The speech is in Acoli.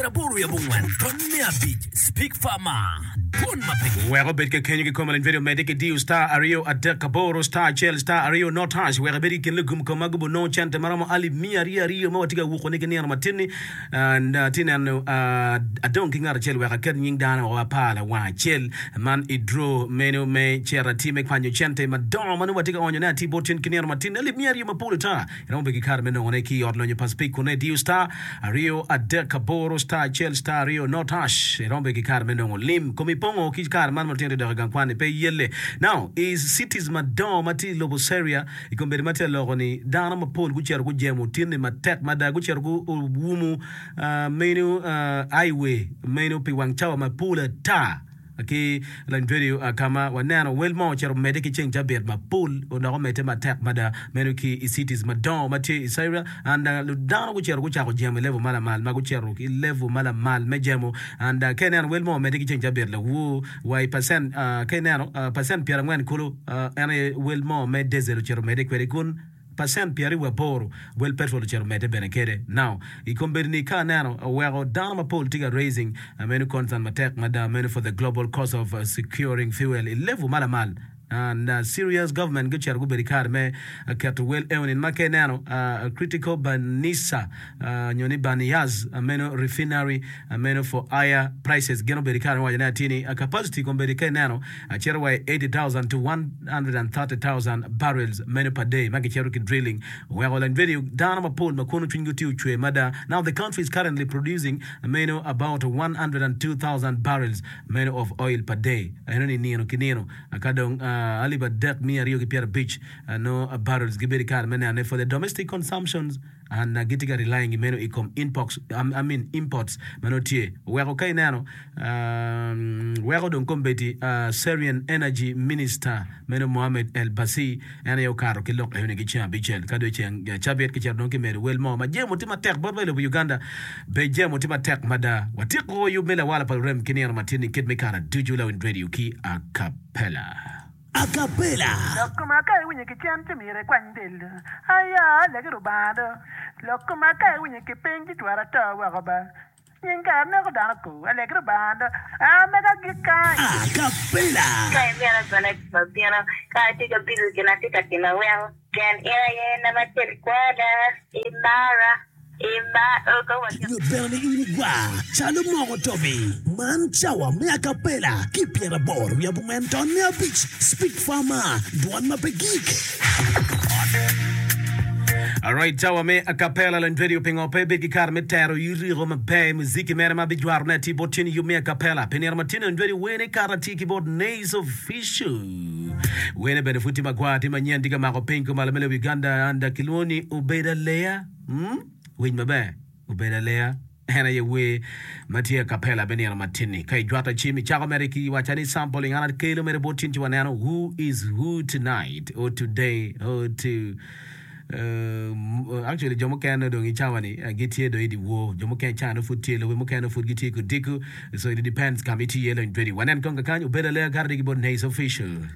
80 Speak Farmer, Dwon ma pe. Wek obed kekenyo ki kome lony vedio medde ki diyo star aryo adek aboro star acel star aryo not hash wek ibed i kin lugum kom ma gubo nongo cente maromo alip miya aryo aryo ma watye ka wuko ni ki nino matin ni and atye neno adong ki ngat acel wek aket nying dano woko apar lawang acel man i draw meno me cito atir me kwanyo cente madongo ma nongo watye ka onyo ne atir bot tin ki nino matin alip miya aryo mapol ata. Iromo bedo ki kare me nongone ki i ot lonyo pa Speke kun idiyo star aryo adek aboro star acel star aryo not hash. Iromo bedo ki kare me nongo lim. Komi pongo ki kare man ma lutino tye dok i gang kwan-ni pe iyelle. Now, i cities madongo ma tye i lobo Syria, i kombeddi ma tye aloko ni dano mapol gucito gujemo tinni matek mada. Gucito guwumo menu highway meno pi wang cawa mapol ata. Ki lony vedio ka ma waneno wel mo ocito omedde ki ceng cabit mapol odok omedde matek mada meno ki i cities madongo ma tye i Syria and dano gucito gucako jemo i level ma lamal ma gucito ki level ma lamal me jemo and ka ineno wel mo omedde ki ceng cabit lawor wa i percent ka ineno percent pyerangwen kulu en aye wel mo me diesel ocito omedde kwede kun Pacent pyeraryo wiye aboro wel petrol ocito medde bene kede. Now, i kombeddi ni ka aneno oweko dano mapol tye ka raising meno concern matek mada meno for the global cost of securing fuel i level ma lamal and Syria's government gucito gubedo i kare me keto wel eonin ma ka ineno critical Banisa nyo ni Baniyas meno refinery meno for higher prices gin obedo i kare me waco ne atir ni capacity kombeddi ka ineno Acito wa i 80,000 to 130,000 barrels meno per day ma gicito ki drilling oweko lany video dano mapol ma kono cwinygi tye ocwer mada. Now the country is currently producing meno about 102,000 barrels meno of oil per day eno ni nino ki nino ka dong alip 3 250 ki nongo barrels gibedo i kare me nenone for the domestic consumptions. And gitye ka relying i meno i kom inpox, I mean imports ma nongo tye. Oweko ka ineno, weko dong kombeddi Syrian Energy Minister meno Mohammed El Bassi en aye okato ki lok enoni ki ceng abicel ka dong ceng cabit kicito dong kimedo wel mo ma jemo tye matek bot wa i lobo Uganda be jemo tye matek mada. Watyeko yub me lawala pa lurem ki nino matin-ni kit me kare ducu Lawiny Radio ki Acapella. Acapella. Lok koma ka iwinyo ki cen ci myero ikwany del do. Aya, alegi Rubanga do. Lok koma ka iwinyo ki piny ci twero ato woko ba. Nying kare neko dano ku. Alegi Rubanga do. A mega agik kany. Acapella. Ka imito bene abino, ka atye ka bido gin atye ka timo aweko. Pien in aye nama acel kwada, imara, Nyut bene ni in igwar calo moko tobi. Man cawa me acapella ki pyeraboro wiye abongwen tonne abic Speak Farmer, dwon ma pe gik. Alright, cawa me acapella lony radio pingo pe ibed ki kare me tero yiriko maber muziki mere ma bijwaro ne atir bot tyeni yub me acapella pi nino ma tyeni lony radio wene kare atir ki bot Nays Official wene bene pud tye magwar tye manyen tye ka mako piny kumalo me lobo Uganda and kilwongo ni Obedo Aleya. Mm, winy maber, obedo aleya. En aye wer ma tye acapella me nino matin-ni. Ka ijwato cim, icako mere ki wacca ni sampling, an akelo mere bot tin ci waneno who is who tonight or today or to uh, actually jo mukene dong i cawa-ni uh, gitye dong i dyewor, jo mukene cawa nongo pud tye, lobe mukene nongo pud gitye i kudiko, so it depends ka ma itye iye lony twedi. Wanen kong kakany, obedo aleya kare ki bot Nays Official.